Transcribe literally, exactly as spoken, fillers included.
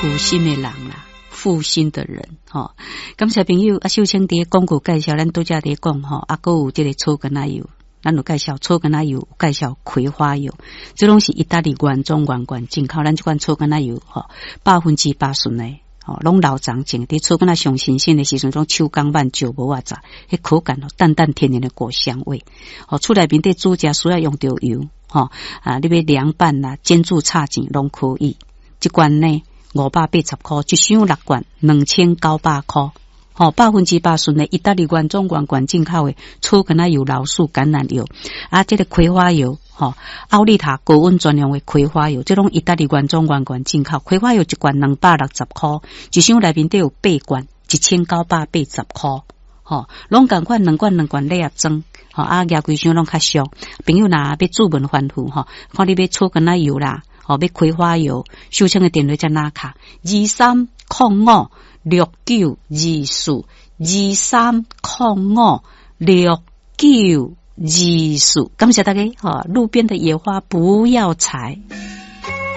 負心的人啦，負心的人，吼。感謝朋友，啊，秀清佇廣告介紹，咱拄才佇講吼，啊，閣有這个草根仔油，咱有介紹草根仔油，介紹葵花油，這攏是意大利原裝原罐進口。咱這款草根仔油，吼，百分之百純的，吼，攏老欉種，佇草根仔上新鮮的時陣，攏手工慢石磨仔榨，彼口感哦，淡淡甜甜的果香味。吼，厝內面佇煮食需要用著油，吼，啊，你欲涼拌啦、煎煮炒煎攏可以。這罐呢，五百八十箍，一箱六罐，兩千九百箍。吼，百分之百純的意大利原裝原罐進口的草根仔油、老樹橄欖油，啊，這个葵花油，吼，奧利塔高溫專用的葵花油，這攏意大利原裝原罐進口。葵花油一罐兩百六十箍，一箱內面底有八罐，一千九百八十箍。吼，攏仝款兩罐兩罐禮盒裝，吼，啊，舉規箱攏較俗。朋友若欲自問反覆，吼，看你欲草根仔油啦，吼，欲葵花油，秀清的電話遮拿卡，二三空五六九二四，二三空五六九二四，感謝大家，吼，路邊的野花不要採。